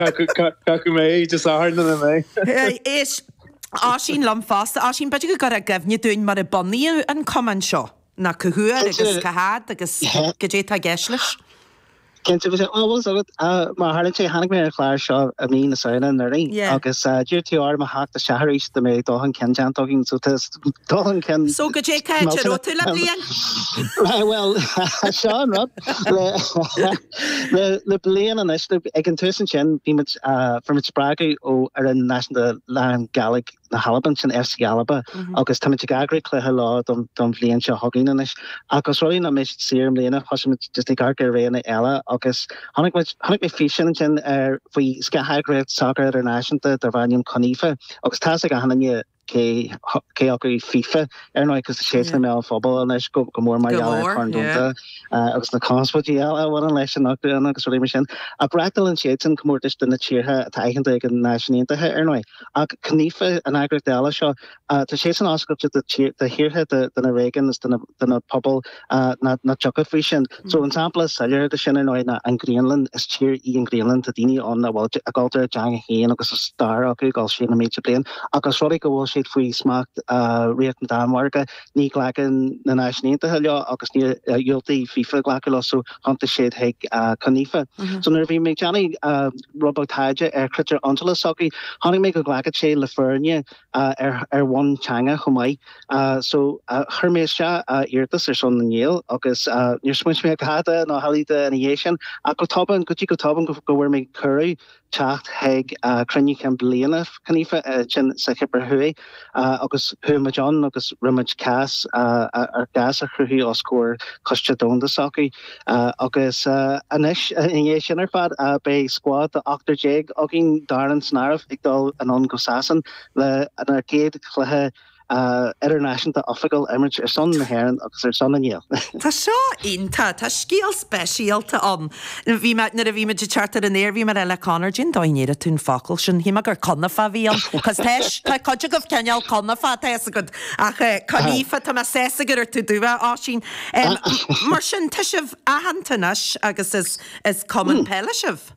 Caithfidh mé Dé Sathairn ina mbeidh. Éist, Oisín liom fosta. Oisín, b'fhéidir go gcuirfeá i gcuimhne dúinn mar a bunaíodh an cumann seo, nó cá huair agus cá fhad agus cad é atá i gceist leis. Cinnte, bhí sé, bhuel, bhfuil 's agat, mar a tharlaíonn sé, tháinig mé ar an chlár seo i mí na Samhna anuraidh agus d'iarr tú orm a theacht isteach arís dá mbeadh dul chun cinn déanta againn, so tá dul chun cinn So cad é cá háit a raibh tú le bliain? Bhuel, seo an rud, le bliain anois, ag an tús ansin, bhí muid, fuair muid spreagadh ó fhoireann náisiúnta lán-Gàidhlig na hAlban, sin FC Alba, agus táimid ag eagrú cluiche leo don bhliain seo chugainn anois. Ach os rud é nach mbeidh siad saor i mbliana, thosaigh muid just ag amharc ar roghanna eile agus chonaic muid, chonaic mé físeán ansin ar, faoi scátheagraíocht sacair idirnáisiúnta darb ainm CONIFA agus tá's ag achan duine cé, cé acu FIFA, ar ndóigh, agus tá siad sna meáin phobail anois go mór mar gheall ar Chorn Domhanda agus na conspóidí eile a bhaineann leis an Úcráin agus rudaí mar sin. Ach reáchtálann siadsan comórtais do na tíortha atá aitheanta ag an Náisiúin Aontaithe, ar ndóigh. Ach CONIFA, an eagraíocht eile seo, tá siadsan oscailte do thíortha, do na réigiúin is do na pobail nach dtiocfadh faoi sin. So an sampla is soiléire de sin, ar ndóigh, ná an Ghraonlainn. Is tír í an Ghraonlainn, tá daoine ann a bhfuil a gcultúr, a dteanga féin agus a stair acu ag dul siar na mílte bliain. Ach os rud é go bhfuil siad faoi smacht Ríocht na Danmhairge, ní ghlacann na Náisiúin Aontaithe leo agus níor dhiúltaigh FIFA glacadh leo so thiontaigh siad chuig CONIFA. So nuair a bhí mé ag déanamh rud beag taighde ar chritéir iontrála s'acu, chonaic mé go nglacann sé le foirne ar bhonn teanga chomh maith. So chuir mé isteach iarratas ar son na nGael agus níor smaointigh mé a dhath de nó a thuilleadh de ina dhiaidh sin ach go tobann, go dtí go tobann go bhfuair mé cuireadh teacht chuig cruinniú cinn bliana CONIFA ansin sa Chipir Thuaidh agus chuaigh muid ann agus rinne muid cás, ár gcás a chruthú os comhair Coiste Domhanda s'acu agus anois i ndiaidh sin ar fad beidh scuad de 18 againn, Darren san áireamh, ag dul anonn go Sasain lenár gcéad chluiche idirnáisiúnta oifigiúil a imirt ar son na hÉireann agus ar son na nGael. Tá seo iontach. Tá scéal speisialta ann. Bhí mé, nuair a bhí muid ag teacht ar an aer, bhí mé ag rá le Conor, cén dóigh a ndéarfaidh tú an focal sin? Shíl mé gur Conafa a bhí ann, cos tá, tá cuid agaibh cineál Conafa, tá fhios agat. Ach Conifa, tá mé sásta go raibh tú dubhach, Oisín. Mar sin, tá sibh aitheanta anois agus is, is cumann peile sibh.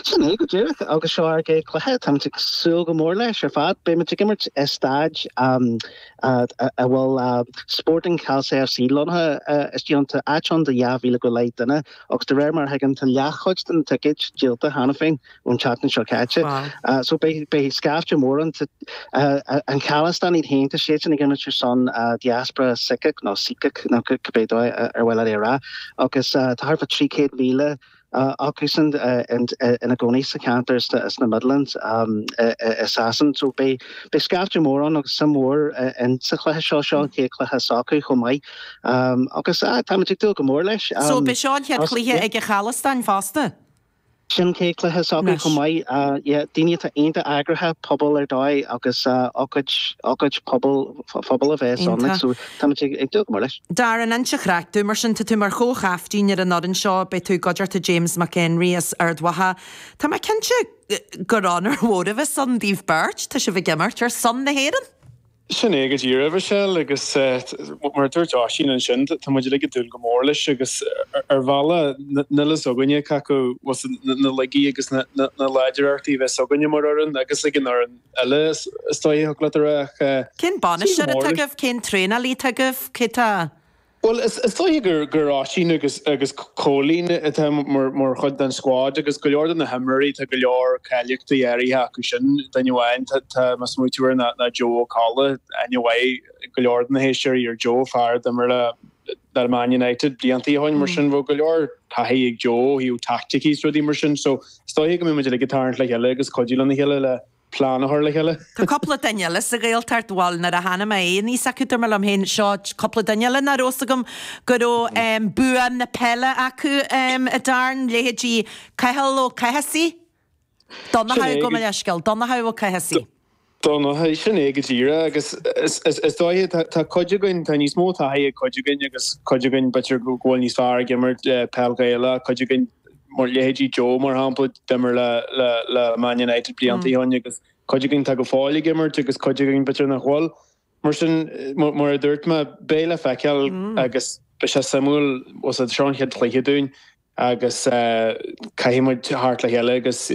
Sin é go díreach, agus seo ár gcéad chluiche. Táimid ag súil go mór leis ar fad. Beidh muid ag imirt i staid a bhfuil Sporting Khalsa FC lonnaithe istigh ann. Tá áit ann do 2,000 go leith duine agus de réir mar a thuigim tá leathchuid de na ticéid díolta cheana féin ón tseachtain seo caite. So beidh scaifte mór ann. An Khalistan iad féin, tá siadsan ag imirt ar son diaspora Sicach nó Sikach nó cibé dóigh ar mhaith leat é a rá agus tá thart fá 300,000 acusan ina gcónaí sa cheantar sna Midlands i Sasain. So beidh scaifte mór ann agus suim mhór in sa chluiche seo, seo an chéad chluiche s'acu chomh maith. Agus táimid ag dúil go mór leis. So beidh seo an chéad chluiche ag an Chalistan fosta? Sin an chéad chluiche s'acu chomh maith. Yeah, daoine atá iontach eagraithe, pobal ar dóigh agus ócáid, ócáid pobail, phobail a bheas ann. So Táimid ag dúil go mór leis. Darren, inis an chraic dúinn mar sin. Tá tú mar chomh-chaiftín ar an fhoireann seo, beidh tú i gcuideachta James McHenry as Ard Mhacha. Tá mé cinnte gur onóir mhór a bheas ann daoibh beirt, tá sibh ag imirt ar son na hÉireann! Sin é go díreach, a Mhichelle, agus mar a dúirt Oisín ansin, tá muid uilig ag dúil go mór leis agus ar bhealach níl fhios againne cé acu na laigí agus na láidreachtaí a bheas againne mar fhoireann agus ag an fhoireann eile is dóigh a thig leat a rá ach Cén bainisteoir atá agaibh? Cén traenálaí atá agaibh? Cé tá? Bhuel, is dóiche gur gur Oisín agus agus Cóilín atá mar mar chuid den squad agus go leor de na himreoirí tá go leor cáilíochtaí áirithe acu sin. Duine amháin tá tá mé ag smaoitiú air ná ná Joe Ó Colla, aithne mhaith go leor de na héisteoirí ar Joe, fear a d'imir le le Man United blianta ó shin mar sin bheadh go leor taithí ag Joe ó thaobh taicticí is rudaí mar sin so is dóiche go mbeidh muid uilig ag tarraingt le chéile agus cuidiú lena chéile le plean a chur le chéile. Tá cúpla duine eile sa Ghaeltacht, bhuel, nuair a chonaic mé é níos acu, dúirt mé liom féin, seo cúpla duine eile nach raibh fhios agam go raibh bua na peile acu a Darren, leithéidí Cathal Ó Cathasaigh, Donnchadh, gabh mo leithscéal, Donnchadh Ó Cathasaigh. Donnchadh, sin é go díreach agus is dóiche tá cuid againn, tá níos mó taithí ag cuid againn agus cuid againn b'fhéidir go bhfuil níos fearr ag imirt peil Ghaelach, cuid againn mar leithéidí Joe mar shampla, d'imir le le le Man United blianta ó shin agus cuid againn tá go fóill ag imirt agus cuid againn b'fhéidir nach bhfuil. Mar sin, mar a dúirt mé, beidh le feiceáil agus beidh sé suimiúil, seo an chéad chluiche dúinn. Agus caithfidh muid theacht le chéile agus.